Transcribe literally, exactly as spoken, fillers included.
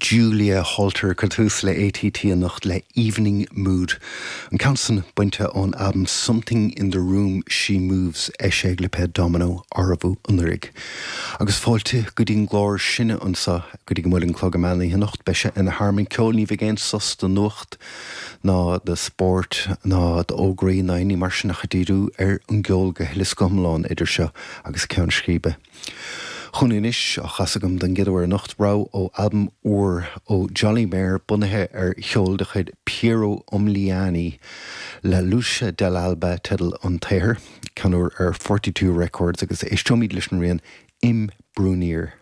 Julia Holter ag cur tús le ATT anocht le Evening Mood. An ceann san bainte ón albam Something in the Room She Moves eisithe ag lipéad Domino arbhú anuraidh. Agus fáilte go dtí an gclár sinne anseo go dtí go mbuailfidh an clog an meán oíche anocht beidh sé ina thearmann ceoil ní bheidh aon sos do nuacht ná do spórt ná d'fhógraí ná aon ní mar sin ach ag díriú ar an gceol go huile is go hiomlán idir seo agus ceann scríbe. Chun anois á chasadh agam don gcéad uair anocht rogha ó albam úr ó Jolly Mayer bunaithe ar cheol de chuid Piero Umiliani La Luce dell'alba teideal an tsaothair, ceann úr ar Forty Two Records agus éisteoimid leis an rian Imbrunir.